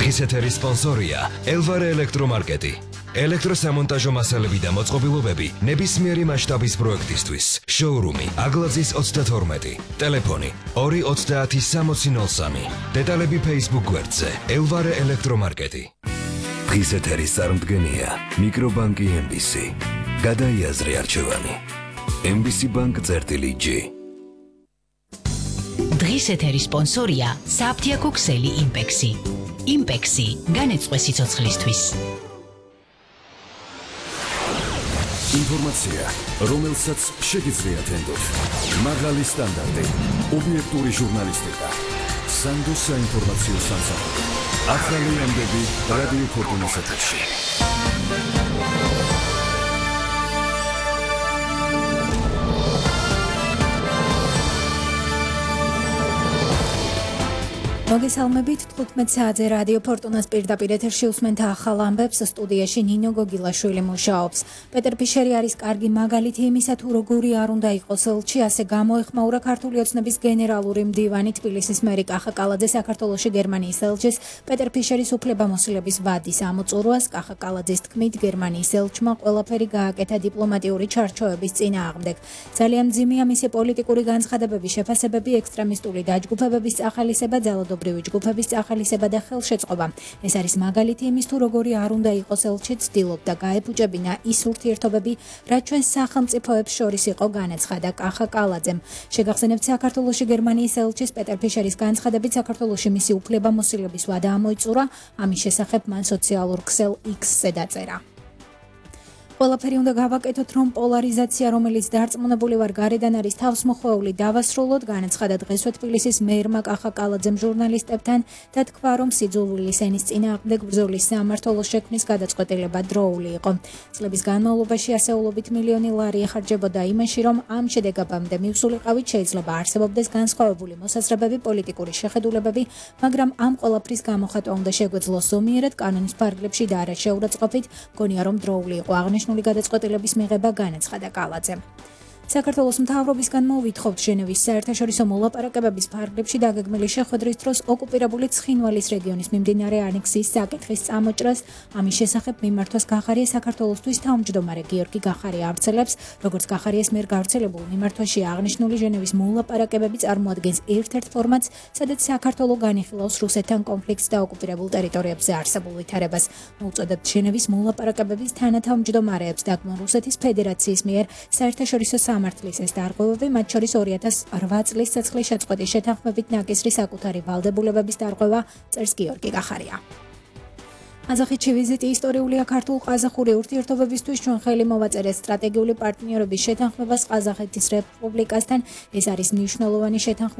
დღის ეთერის სპონსორია ელვარე ელექტრომარკეტი. ელექტროსამონტაჟო მასალები და მოწყობილობები ნებისმიერი მასშტაბის პროექტისთვის. შოურუმი აგლაძის 32. ტელეფონი 2306003. დეტალები Facebook გვერდზე ელვარე ელექტრომარკეტი. დღის ეთერის წარმდგენია მიკრობანკი MBC. გადაიაზრე არჩევანი. MBC Bank-G. დღის ეთერის სპონსორია საფთიაქო ქსელი იმპექსი. იმპექსი განეწყვე სიცოცხლისთვის. ინფორმაცია, რომელსაც შეგიძლიათ ენდოთ. მაღალი სტანდარტი, ობიექტური ჟურნალისტიკა. სანდოს საინფორმაციო სამსახური. ახალი ამბები რადიო ფორტუნის ეთერში. მოგესალმებით 15 საათზე რადიო ფორტუნას პირდაპირ ეთერში უსმენთ ახალ ამბებს. სტუდიაში ნინო გოგილაშვილი მუშაობს. პეტერ ფიშერი არის კარგი მაგალითი იმისა, თუ როგორი არ უნდა იყოს ელჩი, ასე გამოეხმაურა ქართული ოცნების გენერალური მდივანი თბილისის მერი კახა კალაძე საქართველოში გერმანიის ელჩის პეტერ ფიშერის უფლებამოსილების ვადის ამოწურვას. კახა კალაძის თქმით, გერმანიის ელჩმა ყველაფერი გააკეთა დიპლომატიური ჩარჩოების წინააღმდეგ. ძალიან მძიმეა მისი პოლიტიკური განცხადებების შეფასებები, ექსტრემისტული დაჯგუფებების წახალისება, ძალადობრივი ჯგუფების წახალისება და ხელშეწყობა. ეს არის მაგალითი იმის, თუ როგორი არ უნდა იყოს ელჩი, ცდილობდა გაეფუჭებინა ის ურთიერთობები, რაც ჩვენ სახელმწიფოებს შორის იყო, განაცხადა კახა კალაძემ. შეგახსენებთ, საქართველოში გერმანიის ელჩის პეტერ ფიშერის განცხადებით საქართველოში მისი უფლებამოსილების ვადა ამოიწურა, ამის შესახებ მან სოციალურ ქსელ X-ზე დაწერა. ყველაფერი უნდა გავაკეთოთ, რომ პოლარიზაცია, რომელიც დარწმუნებული ვარ გარედან არის თავსმოხვეული, დავასრულოთ, განაცხადა დღესვე თბილისის მერმა კახა კალაძემ ჟურნალისტებთან და თქვა, რომ სიძულვილის ენის წინააღმდეგ ბრძოლის სამმართველოს შექმნის გადაწყვეტილება დროული იყო. წლების განმავლობაში ასეულობით მილიონი ლარი ეხარჯებოდა იმაში, რომ ამ შედეგებამდე მივსულიყავით, შეიძლება არსებობდეს განსხვავებული მოსაზრებები, პოლიტიკური შეხედულებები, მაგრამ ამ ყველაფრის გამოხატვა უნდა შეგვეძლოს ზომიერად, კანონის ფარგლებში და არა შეურაცხყოფით. მგონია, რომ დროული იყო აღნიშნული გადაწყვეტილების მიღება, განაცხადა კალაძემ. საქართველოს მთავრობისგან მოვითხოვთ ჟენევის საერთაშორისო მოლაპარაკებების ფარგლებში დაგეგმილი შეხვედრის დროს ოკუპირებული ცხინვალის რეგიონის მიმდინარე ანექსიის საკითხის წამოჭრას. ამის შესახებ მიმართვას გახარია საქართველოსთვის თავმჯდომარე გიორგი გახარია ავრცელებს, როგორც გახარიას მიერ გავრცელებულ მიმართვაში აღნიშნული ჟენევის მოლაპარაკებები წარმოადგენს ერთ-ერთ ფორმატს, სადაც საქართველო განიხილავს რუსეთთან კონფლიქტს და ოკუპირებულ ტერიტორიებზე არსებულ ვითარებას. მოუწოდებთ ჟენევის მოლაპარაკებების თანათავმჯდომარეებს დაგმონ რუსეთის ფედერაციის მიერ საერთაშორისო სამართლის ეს დარღვევები, მათ შორის 2008 წლის ცეცხლის შეწყვეტის შეთანხმებით ნაკისრის საკუთარი ვალდებულებების დარღვევა, წერს გიორგი გახარია. ყაზახეთში ვიზიტი ისტორიულია ქართულ-ყაზახური ურთიერთობებისთვის. ჩვენ ხელი მოვაწერეთ სტრატეგიული პარტნიორობის შეთანხმებას ყაზახეთის რესპუბლიკასთან. ეს არის მნიშვნელოვანი შეთანხმება